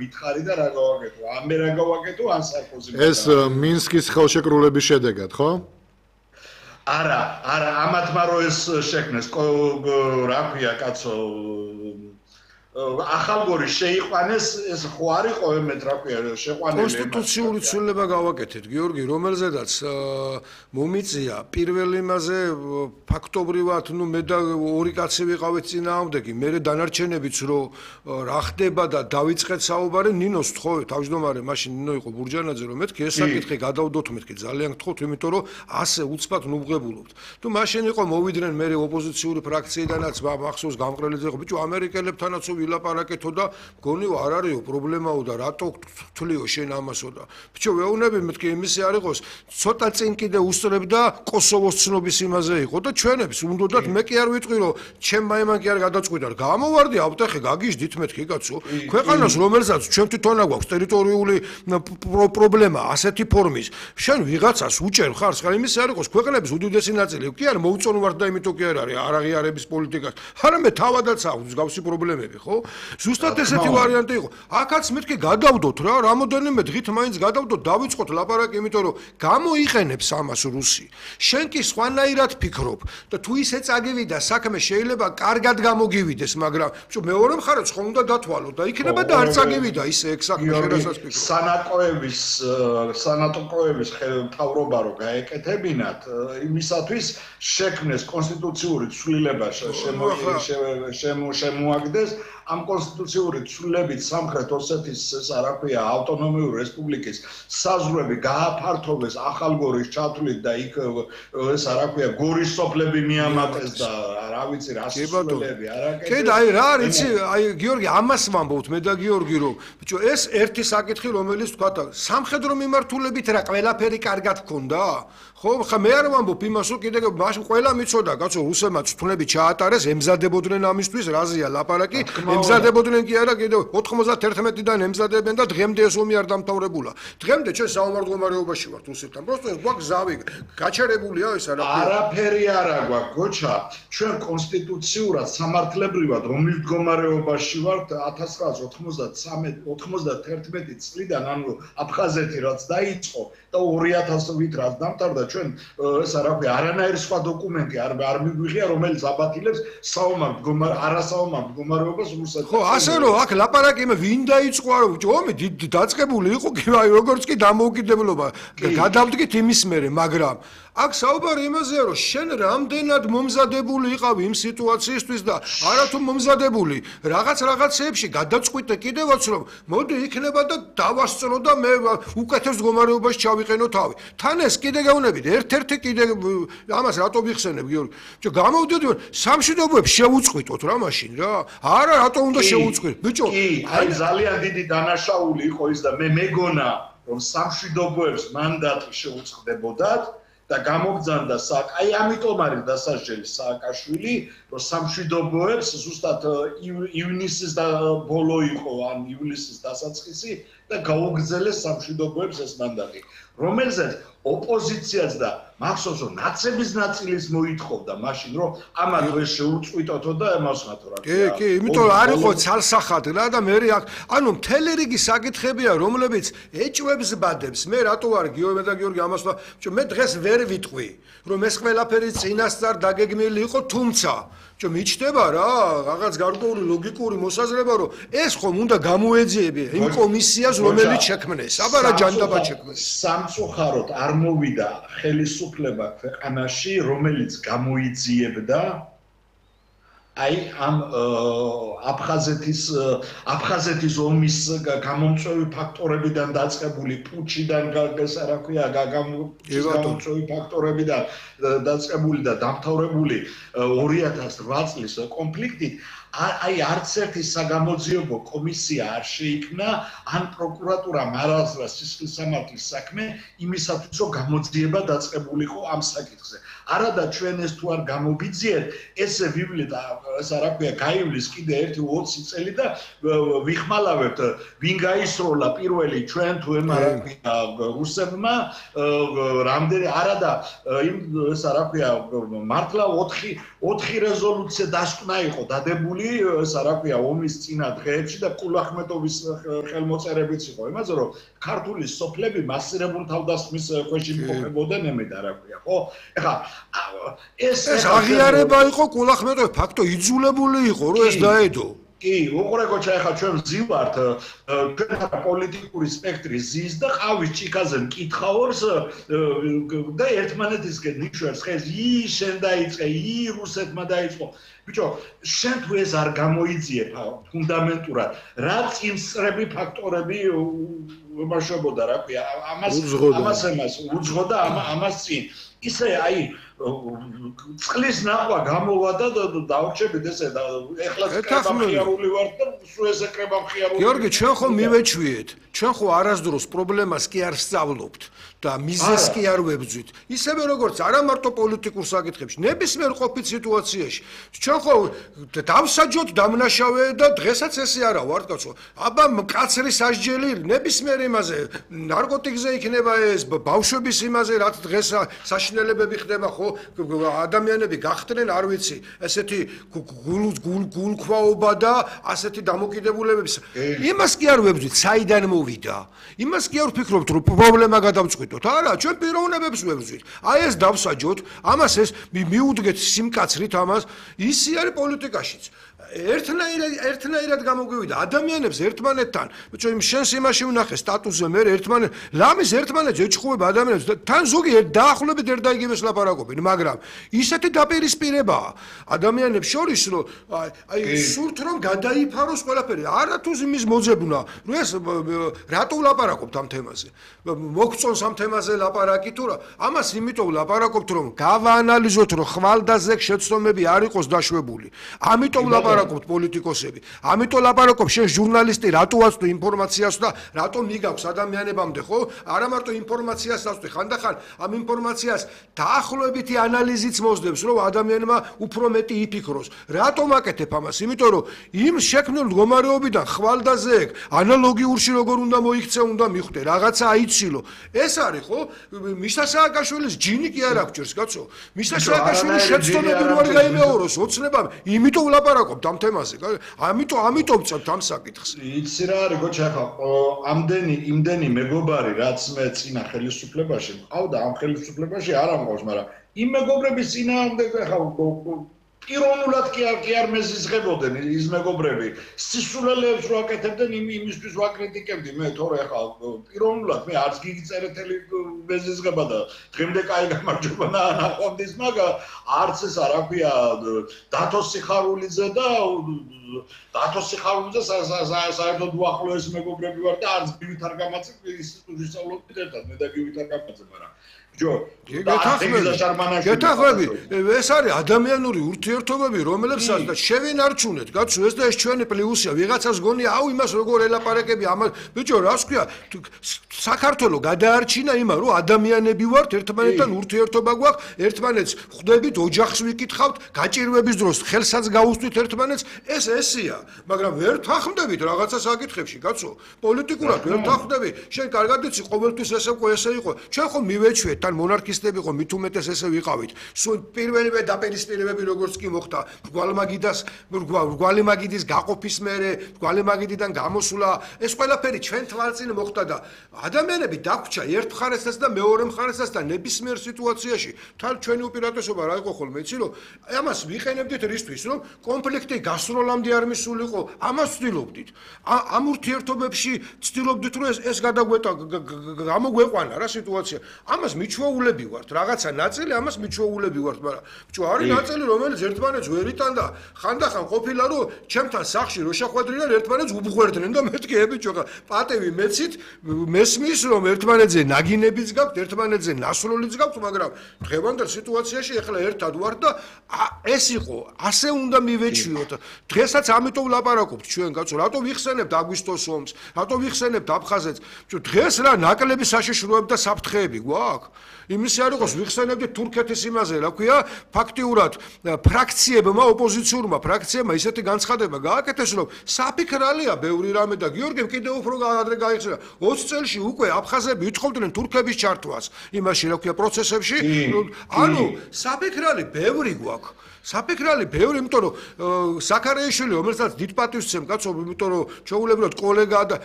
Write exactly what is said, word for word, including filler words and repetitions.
მითხარი და რა გავაკეთო? ან მე რა გავაკეთო, ან სარკოზი. ეს მინსკის ხელშეკრულების შედეგად, ხო? არა, არა, ამათმა რო ეს შექმნეს, რა ქვია, კაცო, ახალგორი შეიყვანეს, ეს ხო არ იყო ემეთ რა ქვია, შეყვანილი. კონსტიტუციური ცვლილება გავაკეთეთ, გიორგი, რომელზედაც მომიწია პირველ იმაზე ფაქტობრივად, ნუ მე და ორი კაცი ვიყავით წინააღმდეგი, მე დანარჩენებიც რო რა ხდება და დავიწყეთ საუბარი, ნინოს თხოვე, თავმჯდომარე, მაშინ ნინო იყო ბურჯანაძე, რომ მეთქი ეს საკითხი გადავდოთ მეთქი, ძალიან გთხოვთ, იმიტომ რომ ასე უცბად ნუღებულობთ. თუ მაშინ იყო მოვიდნენ მე ოპოზიციური ფრაქციიდანაც, მახსოვს გამყრელიძე იყო, ბიჭო, ამერიკელებთანაც ვილაპარაკეთო და მგონიო არ არისო პრობლემაო და რატო თვლიო შენ ამასო და ბიჭო ვეუბნები მეთქი იმისი არ იყოს ცოტა წინ კიდე უსწრებდა კოსოვოს ცნობის იმაზე იყო და ჩვენებს უნდათ მე კი არ ვიტყვი რომ ჩემ მაიმან კი არ გადაწყვიტა გამოვარდი ავტეხე გაგიჟდით მეთქი კაცო ქვეყანას რომელსაც ჩვენ თვითონ აგვაქვს ტერიტორიული პრობლემა ასეთი ფორმის შენ ვიღაცას უჭერ ხარ ხარ იმისი არ იყოს ქვეყნების უდიდესი ნაწილი კი არ მოუწონვართ და იმიტომ კი არ არის არაღიარების პოლიტიკას არამედ თავადაც აქვს მსგავსი პრობლემები ხო ზუსტად ესეთი ვარიანტი იყო. აქაც მეთქი გადავდოთ რა, რამოდენიმე დღით მაინც გადავდოთ, დავიწყოთ ლაპარაკი, იმიტომ რომ გამოიყენებს ამას რუსი. შენ კი სხვანაირად ფიქრობ და თუ ისე წაგივიდა საქმე შეიძლება კარგად გამოგივიდეს, მაგრამ ბიჭო მეორე მხარეს ხომ უნდა დათვალოთ და იქნება და არ წაგივიდა ისე ეგ საქმე შედასაც ფიქრობ. სანაკოების სანატოკოების მთავრობა რო გაეკეთებინათ, იმისათვის შექმნეს კონსტიტუციური ცვლილება შემოაგდეს ამ კონსტიტუციური ცვლილებით სამხრეთ ოსეთის ეს რა ქვია ავტონომიური რესპუბლიკის საზღვრები გააფართოვეს ახალგორის ჩათვლით და იქ ეს რა ქვია გორის სოფლები მიამატეს და რა ვიცი რა სულები არაკეთეს. კი და აი რა არის აი გიორგი ამას ვამბობთ მე და გიორგი რომ ბიჭო ეს ერთი საკითხი რომელიც თქვა სამხედრო მიმართულებით რა ყველაფერი კარგად გქონდა ხო ხა მე არ ვამბობ იმას რომ კიდე მაშინ ყველა მიცოდა კაცო რუსებმა თვნები ჩაატარეს ემზადებოდნენ ამისთვის რაზეა ლაპარაკი ემზადებოდნენ კი არა კიდე ოთხმოცდაერთმეტიდან ემზადებენ და დღემდე ეს ომი არ დამთავრებულა დღემდე ჩვენ საომარ მდგომარეობაში ვართ რუსეთთან просто გვაქვს ზავი გაჩერებულია ეს არაფერი არაფერი არა გვაქვს გოჩა ჩვენ კონსტიტუციურად სამართლებრივად ომის მდგომარეობაში ვართ ათას ცხრაასი ოთხმოცდათრამეტი ოთხმოცდაერთმეტი წლიდან ანუ აფხაზეთი რაც დაიწყო და ორი ათასობით რაც დამთავრდა ჩვენ ეს რა ქვია არანაირი სხვა დოკუმენტი არ არ მიგვიღია რომელიც აბათილებს საომარ მდგომარე არასაომარ მდგომარეობას რუსეთთან ხო ასე რომ აქ ლაპარაკი მე ვინ დაიწყო არა ომი დაწყებული იყო კი აი როგორც კი დამოუკიდებლობა გადავდგით იმის მერე მაგრამ აქ საუბარი იმაზეა რომ შენ რამდენად მომზადებული იყავი იმ სიტუაციისთვის და არათუ მომზადებული რაღაც რაღაცეებში გადაწყვიტე კიდევაც რომ მოდი იქნება და დავასწრო და მე უკეთეს მდგომარეობაში ჩავიყენო თავი თან ეს კიდე გეუბნებით ერთ-ერთი კიდე ამას რატო ვიხსენებ გიორგი ბიჭო გამოვდიოდი სამშვიდობოებს შევუწყვიტოთ რა მაშინ რა არა რატო უნდა შევუწყვიტოთ ბიჭო აი ძალიან დიდი დანაშაული იყო ის და მე მეგონა რომ სამშვიდობოებს მანდატი შეუწყდებოდათ და გამოგზანდა საკ აი ამიტომ არის დასაჯელი სააკაშვილი რომ სამშვიდობოებს ზუსტად ივნისის და ბოლო იყო ან ივლისის დასაწყისი და გაუგზელეს სამშვიდობოებს ეს მანდატი რომელზეც ოპოზიციაც და მახსოვს რომ ნაცების ნაწილის მოითხოვდა მაშინ რომ ამათ ვერ შეუწყვიტოთო და ემასხათო რა კი კი იმიტომ რომ არ იყო ცალსახად რა და მე აქ ანუ მთელი რიგი საკითხებია რომლებიც ეჭვებს ბადებს მე რატო არ გიორგი და გიორგი ამას მე დღეს ვერ ვიტყვი რომ ეს ყველაფერი წინასწარ დაგეგმილი იყო თუმცა čo მიჩდება რა რაღაც გარკვეული ლოგიკური მოსაზრება რომ ეს ხომ უნდა გამოეძიებია იმ კომისიას რომელიც შექმნეს აბა რა ჯანდაბა შექმნეს სამწუხაროდ არ მოვიდა ხელისუფლება ქვეყანაში რომელიც გამოიძიებდა აი ამ აფხაზეთის აფხაზეთის ომის გამომწვევი ფაქტორებიდან დაწყებული პუჩიდან გასა რა ქვია გამომწვევი ფაქტორებიდან დაწყებული და დამთავრებული ორი ათას რვა წლის კონფლიქტით აი არც ერთი საგამოძიებო კომისია არ შეიქმნა ან პროკურატურა მარაზრა სისხლის სამართლის საქმე იმისათვის რომ გამოძიება დაწყებულიყო ამ საკითხზე არადა ჩვენ ეს თუ არ გამოვიძიეთ ესე ვივლეთ ეს რა ქვია გაივლის კიდე ერთი ოცი წელი და ვიხმალავებთ ვინ გაისროლა პირველი ჩვენ თუ ემარა რუსებმა რამდენი არადა იმ ეს რა ქვია მართლა ოთხი ოთხი რეზოლუცია დასკვნა იყო დადებული ჩართული ეს რა ქვია ომის წინა დღეებში და კულახმეტოვის ხელმოწერებიც იყო იმაზე რომ ქართული სოფლები მასირებულ თავდასხმის ქვეშ იმყოფებოდნენ ემედა რა ქვია ხო ეხლა ეს ეს აღიარება იყო კულახმეტოვის ფაქტო იძულებული იყო რომ ეს დაედო კი, უყურე კოჩა, ახლა ჩვენ ვზივართ ჩვენთან პოლიტიკური სპექტრი ზის და ყავის ჭიქაზე მკითხაობს და ერთმანეთისკენ ნიშნავს ხეს ი შენ დაიწყე, ი რუსეთმა დაიწყო. ბიჭო, შენ თუ ეს არ გამოიძიებ ფუნდამენტურად, რა წინსწრები ფაქტორები უმაშობოდა რა ქვია, ამას ამას ამას უძღოდა ამას წინ. ისე აი წყლის ნახვა გამოვა და დავრჩებით ესე და ეხლა კრებამხიარული ვარ და სულ ესე კრებამხიარული. გიორგი, ჩვენ ხო მივეჩვიეთ, ჩვენ ხო არასდროს პრობლემას კი არ სწავლობთ და მიზეზს კი არ ვებძვით. ისევე როგორც არა მარტო პოლიტიკურ საკითხებში, ნებისმიერ ყოფით სიტუაციაში. ჩვენ ხო დავსაჯოთ დამნაშავე და დღესაც ესე არა ვარ კაცო. აბა მკაცრი სასჯელი ნებისმიერ იმაზე, ნარკოტიკზე იქნება ეს, ბავშვების იმაზე, რაც დღეს საშინელებები ხდება ხო ადამიანები გახდნენ არ ვიცი ესეთი გულქვაობა და ასეთი დამოკიდებულებების იმას კი არ ვებძვით საიდან მოვიდა იმას კი არ ვფიქრობთ რომ პრობლემა გადავწყვიტოთ არა ჩვენ პიროვნებებს ვებძვით აი ეს დავსაჯოთ ამას ეს მიუდგეთ სიმკაცრით ამას ისი არის პოლიტიკაშიც ერთნაირად ერთნაირად გამოგვივიდა ადამიანებს ერთმანეთთან ჩვენ შენს იმაში ვნახე სტატუსზე მე ერთმანეთ ლამის ერთმანეთს ეჭხუება ადამიანებს თან ზოგი დაახლოებით ერთდაიგივეს ლაპარაკობენ მაგრამ ისეთი დაპირისპირებაა ადამიანებს შორის რომ აი სურთ რომ გადაიფაროს ყველაფერი არა თუ იმის მოძებნა რომ ეს რატო ლაპარაკობთ ამ თემაზე მოგწონს ამ თემაზე ლაპარაკი თუ რა ამას იმიტომ ლაპარაკობთ რომ გავაანალიზოთ რომ ხვალდაზე შეცდომები არ იყოს დაშვებული ამიტომ ლაპარაკობთ პოლიტიკოსები. ამიტომ ლაპარაკობ შენ ჟურნალისტი რატო ვაწვდი ინფორმაციას და რატო მიგაქვს ადამიანებამდე ხო? არა მარტო ინფორმაციას ვაწვდი, ხანდახან ამ ინფორმაციას დაახლოებითი ანალიზიც მოსდევს, რომ ადამიანმა უფრო მეტი იფიქროს. რატომ აკეთებ ამას? იმიტომ რომ იმ შექმნილ მდგომარეობიდან ხვალდაზე ეგ ანალოგიურში როგორ უნდა მოიქცე, უნდა მიხვდე, რაღაცა აიცილო. ეს არის ხო? მიშა სააკაშვილის ჯინი კი არ აქვს, კაცო. მიშა სააკაშვილის შეცდომები რო არ გაიმეოროს, ოცნებამ, იმიტომ ლაპარაკობ ამ თემაზე. ამიტომ ამიტომ წევთ ამ საკითხს. იცი რა არის გოჩა ხა ამდენი იმდენი მეგობარი რაც მე წინა ხელისუფლებაში მყავდა ამ ხელისუფლებაში არ ამყავს, მაგრამ იმ მეგობრების წინააღმდეგ ხა პიროვნულად კი არ კი არ მეზიზღებოდნენ ის მეგობრები. სისულელეებს რო აკეთებდნენ იმ იმისთვის ვაკრიტიკებდი მე თორე ხა პიროვნულად მე არც გიგწერეთელი მეზიზღება და დღემდე კაი გამარჯობა ნახვამდის მაგა არც ეს რა ქვია დათო სიხარულიძე და დათო სიხარულიძე საერთოდ უახლოეს მეგობრები ვარ და არც გივით არ გამაწევ ინსტიტუტში სწავლობდი ერთად მე და გივით არ გამაწევ მაგრამ გეთახვები ეს არის ადამიანური ურთიერთობები რომელებსაც და შევინარჩუნეთ კაცო ეს და ეს ჩვენი პლუსია ვიღაცას გონია აუ იმას როგორ ელაპარაკები ამას ბიჭო რას ქვია საქართველო გადაარჩინა იმან რომ ადამიანები ვართ ერთმანეთთან ურთიერთობა გვაქვს ერთმანეთს ხვდებით ოჯახს ვიკითხავთ გაჭირვების დროს ხელსაც გაუსვით ერთმანეთს ეს ესია მაგრამ ვერ თახმდებით რაღაცა საკითხებში კაცო პოლიტიკურად ვერ თახმდები შენ კარგად იცი ყოველთვის ესე ყო ესე იყო ჩვენ ხომ მივეჩვიეთ თან მონარქისტები ხო მით უმეტეს ესე ვიყავით. სულ პირველივე დაპირისპირებები როგორც კი მოხდა, გვალმაგიდას, გვალიმაგიდის გაყოფის მერე, გვალიმაგიდიდან გამოსულა, ეს ყველაფერი ჩვენ თვალწინ მოხდა და ადამიანები დაგვრჩა ერთ მხარესაც და მეორე მხარესაც და ნებისმიერ სიტუაციაში თან ჩვენი უპირატესობა რა იყო ხოლმე, იცი რომ ამას ვიყენებდით რისთვის, რომ კონფლიქტი გასროლამდე არ მისულიყო, ამას ვცდილობდით. ამ ურთიერთობებში ვცდილობდით რომ ეს ეს გადაგვეტა გამოგვეყვანა რა სიტუაცია. ამას მიჩვეულები ვართ, რაღაცა ნაწილი ამას მიჩვეულები ვართ, მაგრამ ბჭო არის ნაწილი რომელიც ერთმანეთს ვერ იტანდა, ხანდახან ყოფილა რომ ჩემთან სახში რო შეხვედრიან ერთმანეთს უბღვერდნენ და მეთქი ბიჭო პატევი მეცით მესმის რომ ერთმანეთზე ნაგინებიც გაქვთ, ერთმანეთზე ნასროლიც გაქვთ, მაგრამ დღევანდელ სიტუაციაში ეხლა ერთად ვართ და ეს იყო, ასე უნდა მივეჩვიოთ. დღესაც ამიტომ ლაპარაკობთ ჩვენ კაცო, რატო ვიხსენებთ აგვისტოს ომს, რატო ვიხსენებთ აფხაზეთს? ბჭო დღეს რა ნაკლები საშიშროები და საფრთხეები გვაქვს? იმისი არ იყოს ვიხსენებდით თურქეთის იმაზე, რა ქვია, ფაქტიურად ფრაქციებმა, ოპოზიციურმა ფრაქციებმა ისეთი განცხადება გააკეთეს, რომ საფიქრალია ბევრი რამე და გიორგიმ კიდევ უფრო ადრე გაიხსნა. ოცი წელში უკვე აფხაზები ითხოვდნენ თურქების ჩართვას იმაში, რა ქვია, პროცესებში. ანუ საფიქრალი ბევრი გვაქვს. საფიქრალი ბევრი, იმიტომ რომ საქარიაშვილი, რომელსაც დიდ პატივს ვცემ კაცო, იმიტომ რომ ჩვეულებრივად კოლეგა და